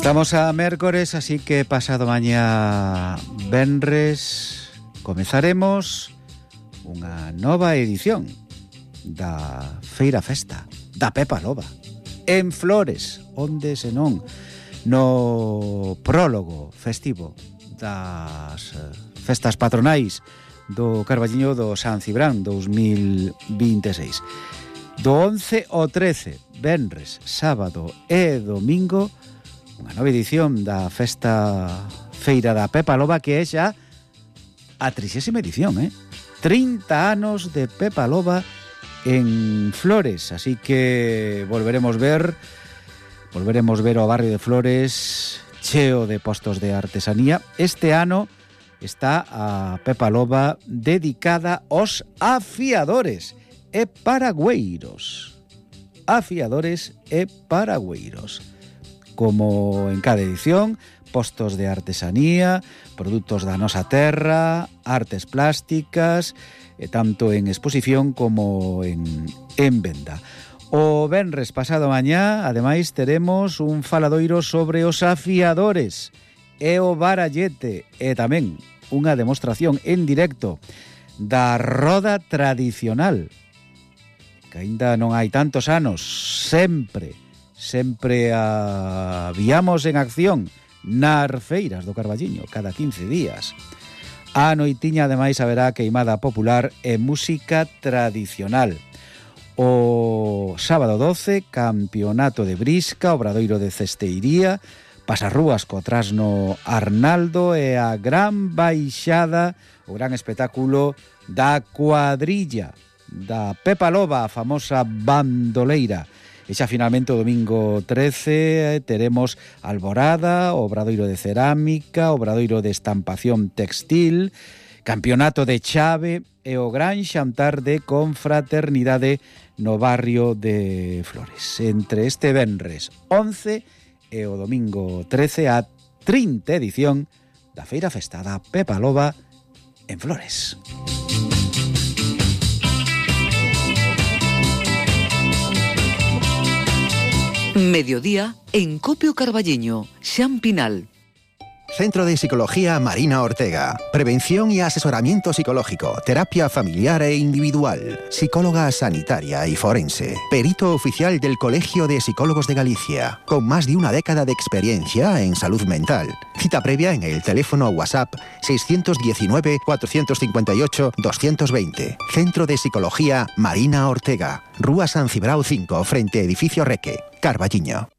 Estamos a mércores, así que pasado mañá venres comezaremos unha nova edición da Feira Festa da Pepa Loba en Flores, onde senón no prólogo festivo das festas patronais do Carballiño do San Cibrán 2026. Do 11 ao 13, venres, sábado e domingo, unha nova edición da Festa Feira da Pepa Loba, que é xa a 30ª edición, 30 anos de Pepa Loba en Flores, así que volveremos ver o barrio de Flores cheo de postos de artesanía. Este ano está a Pepa Loba dedicada aos afiadores e paragüeiros. Afiadores e paragüeiros. Como en cada edición, postos de artesanía, produtos da nosa terra, artes plásticas, tanto en exposición como en venda. O venres pasado mañá, ademais, teremos un faladoiro sobre os afiadores e o barallete, e tamén unha demostración en directo da roda tradicional, que aínda non hai tantos anos, sempre a viamos en acción nas feiras do Carballiño cada 15 días. A noitiña, ademais, haberá queimada popular e música tradicional. O sábado 12, campeonato de brisca, obradoiro de cesteiría, pasarrúas co trasno Arnaldo e a gran baixada, o gran espectáculo da cuadrilla da Pepa Loba, a famosa bandoleira. E xa finalmente o domingo 13 teremos alborada, obradoiro de cerámica, obradoiro de estampación textil, campeonato de chave e o gran xantar de confraternidade no barrio de Flores. Entre este venres 11 e o domingo 13 a 30 edición da Feira Festa da Pepa Loba en Flores. Mediodía en Copio Carballiño, Xan Pinal. Centro de Psicología Marina Ortega. Prevención y asesoramiento psicológico, terapia familiar e individual, psicóloga sanitaria y forense, perito oficial del Colegio de Psicólogos de Galicia, con más de una década de experiencia en salud mental. Cita previa en el teléfono WhatsApp 619 458 220. Centro de Psicología Marina Ortega. Rúa San Cibrao 5, frente Edificio Reque, Carballiño.